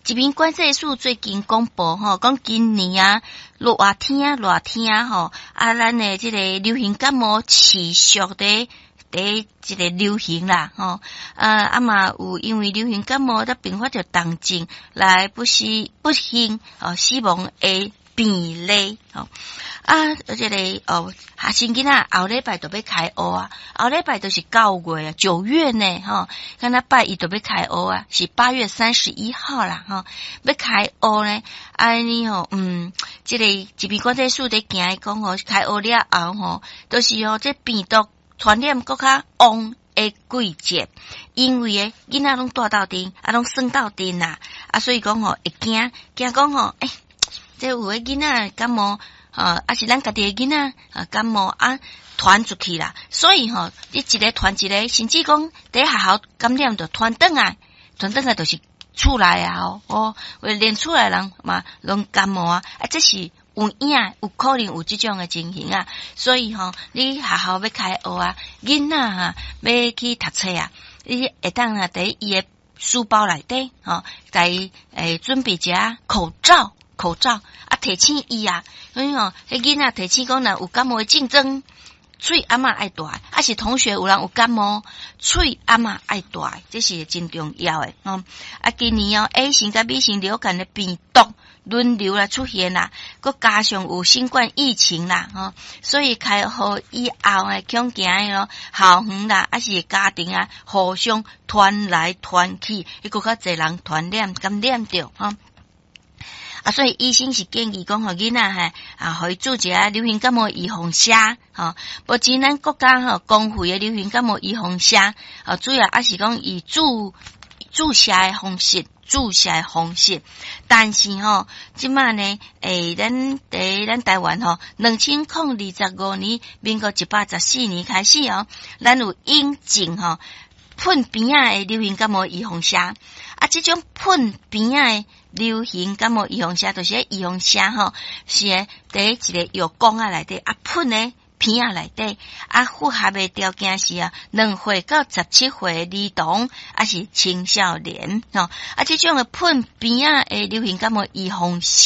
疾病管制署最近公布吼，講今年啊，熱天熱天吼，啊，咱的這個流行感冒持續佇佇這個流行啦，吼，啊嘛有因為流行感冒才併發著重症來不死不幸哦死亡的病例，吼，啊，這個哦，學生囡仔後禮拜就欲開學啊，後禮拜就是9月啊，9月呢，吼，敢若拜一就欲開學啊，是8月31號啦，吼，欲開學呢，按呢吼，這個疾病管制署佇驚講吼，開學了後吼，就是吼，這病毒傳染閣較旺的季節，因為咧囡仔攏蹛鬥陣，啊，攏耍鬥陣啦，啊，所以講吼會驚驚講吼，欸，這有的囡仔感冒，啊是咱家己的囡仔啊感冒啊，傳出去啦，所以吼，你一个傳一個，甚至講佇學校感染就傳轉來，傳轉來就是厝內啊，哦，連厝內人嘛攏感冒啊，啊，這是有影有可能有這種的情形啊，所以吼，你學校欲開學啊，囡仔哈欲去讀冊啊，你會當啊佇伊的書包內底吼，共伊準備一下口罩。口罩啊，提醒伊啊，所以吼，彼囡仔提醒講，若有感冒的症狀，喙罨仔愛戴，啊是同學有人有感冒，喙罨仔愛戴，這是真重要的吼。啊，今年哦，A 型佮 B 型流感的病毒輪流來出現啦，閣加上有新冠疫情啦，吼，所以開學以後的恐驚咯，校園啦，抑是家庭啊，互相傳來傳去，會閣較濟人傳染感染著吼。啊，所以醫生是建議講，予囡仔哈啊，予伊注一下流行感冒預防射，吼。目前咱國家吼公費的流行感冒預防射，啊，主要抑是講以注射的方式，注射的方式。但是吼，這馬呢，欸，咱佇咱台灣吼，2025年，民國114年開始哦，咱有引進吼噴鼻仔的流行感冒預防射。啊，這種噴鼻仔的流行感冒預防射，就是預防射吼，是佇一個藥膏仔內底啊噴佇鼻仔內底，啊符合的條件是啊，2歲到17歲的兒童，抑是青少年吼，啊，這種的噴鼻仔的流行感冒預防射。